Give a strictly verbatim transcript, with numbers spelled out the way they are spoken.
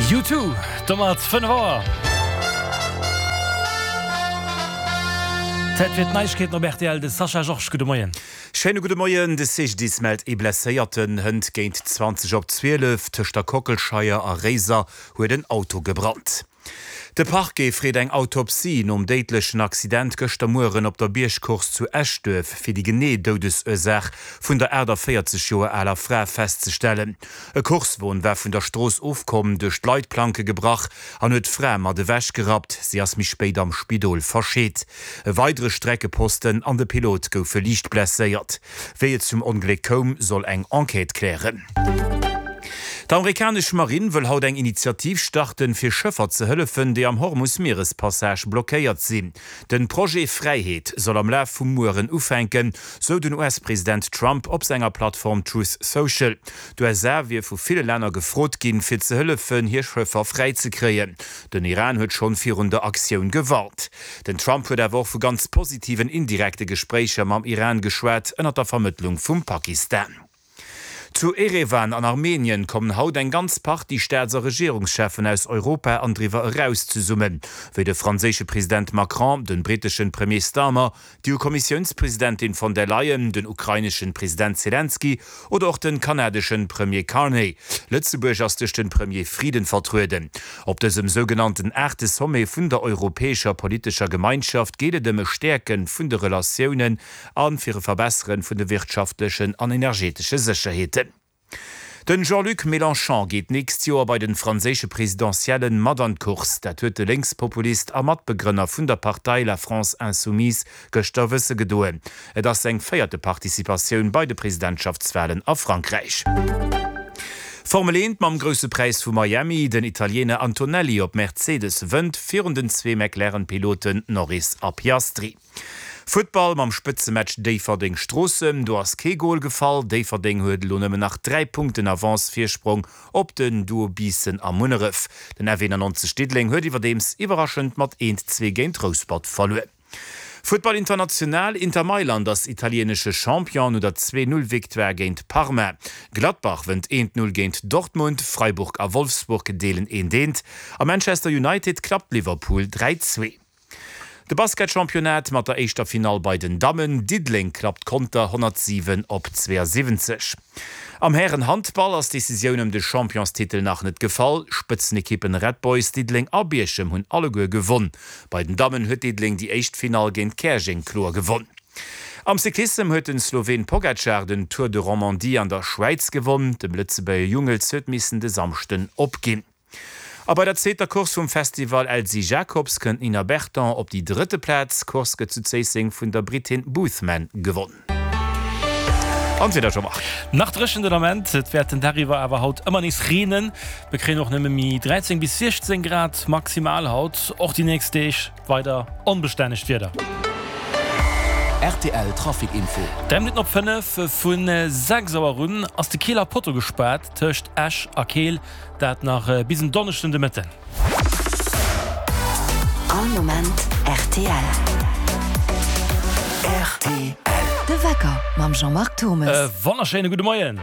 U Two, domat fënnef Auer. Zäit fir d'Neiegkeeten op rtl, de Sascha Georges, gudde Moien. Schéine gudde Moien. De C G D I S mellt ee Blesséierten. Hënt géint zwanzeg op zwielef tëscht der Kockelscheier a Réiser huet en Auto gebrannt. De Parquet freet eng Autopsie nom déidlechen Accident gëschter Mueren op der Biergcourse zu Eschduerf, fir déi genee Doudesursaach vun der aachtavéierzeg Joer aler Fra festzestellen. E Coursewon war vun der Strooss ofkomm, duerch d'Leitplanke gebrach an huet d'Fra mat ewech gerappt. Si ass méi spéit am Spidol verscheet. E weidere Streckeposten an de Pilot goufe liicht blesséiert. Wéi et zum Ongléck koum, soll eng Enquête klären. D'amerikanesch Marinn wëll haut eng Initiativ starten, fir Schëffer ze hëllefen, déi am Hormus-Mierespassage blockéiert sinn. Den Projet Fräiheet soll am Laf vum Mueren ufänken, sou den U S-President Trump op senger Plattform Truth Social. D'U S A wier vu ville Länner gefrot ginn, fir ze hëllefen, hir Schëffer fräi ze kréien. Den Iran huet schonn virun der Aktioun gewarnt. Den Trump huet awer och vu ganz positiven indirekte Gespréicher mam Iran geschwat, ënnert der Vermëttlung vum Pakistan. Zu Erevan an Armenien kommen haut eng ganz Partie Staats a Regierungscheffen aus Europa an driwwer eraus zesummen, wéi de franséische President Macron, den britteschen Premier Starmer, d'E U-Kommissiounspresidentin von der Leyen, den ukraineschen President Zelensky oder och den kanadeschen Premier Carney. Lëtzebuerg ass duerch den Premier Frieden vertrueden. Op dësem sougenannten aachte Sommet vun der europäescher politescher Gemeinschaft geet et ëm e Stäerken vun de Relatiounen an fir e Verbesseren vun de wirtschaftlechen an energetesche Sécherheeten. Den Jean-Luc Mélenchon geet nächst Joer bei den franséische Presidentiellen mat an d'Course. Dat huet de Lénkspopulist a Matbegrënner vun der Partei La France Insoumise gëschter wësse gedoen. Et ass seng véierte Participatioun bei de Presidentschaftswalen a Frankräich. Formel eent mam Grousse Präis vu Miami, Den Italiener Antonelli op Mercedes wënnt virun den zwee McLaren-Piloten Norris a Piastri. Futtball mam Spëtzematch Déifferdeng-Stroossen, do ass kee Gol gefall. Déifferdeng huet elo nëmmen nach dräi Punkten Avance Virsprong op den Duo Biissen a Munneref. Den F eenannonzeg Diddeleng huet iwwerdeems iwwerraschend mat eent zwee géint Rouspert verluer. Futtball international, Inter Mailand ass italienesche Champion no der zwee Null Victoire géint Parma. Gladbach wënnt eent Null géint Dortmund, Freiburg a Wolfsburg deelen eent eent a Manchester United klappt Liverpool dräi zwee. De Basketchampionnat mat der éischter Finall bei den Dammen, Diddeleng klappt Conter honnertsiwen op zweeënsiwwenzeg. Am Hären-Handball ass d'Decisioun ëm de Championstitel nach net gefall. Spëtzenekippen Red Boys Diddeleng a Bierchem hunn alleguer gewonn. Bei den Dammen huet Diddeleng déi éischt Finall géint Käerjeng kloer gewonn. Am Cyclissem huet den Sloween Pogacar den Tour de Romandie an der Schwäiz gewonn. Dem Lëtzebuerger Jungels huet missen de Samschden opginn. A bei der zweeter Course vum Festival Elsy Jacobs kënnt d'Nina Berton op déi drëtte Plaz. D'Course gëtt zu Zéisseng vun der Britin Boothman gewonn. An d'Wieder, Jean-Marc. Nach dréchen den Ament, et wäert den Dag iwwer awer haut ëmmer nees reenen. Mir kréien och nëmme méi dräizéng bis siechzéng Grad maximal haut. Och déi nächst Deeg weider onbestännegt Wieder. R T L Trafic Info. Dräi Minutten op fënnef. Vu sechs Auer un ass de Keeler Potto gespaart tëscht Esch a Keel, dat nach bis en Donneschden de Mëtten. All Moment R T L. R T L. De Wecker mam Jean-Marc Thommes. E wonnerschéine gudde Moien.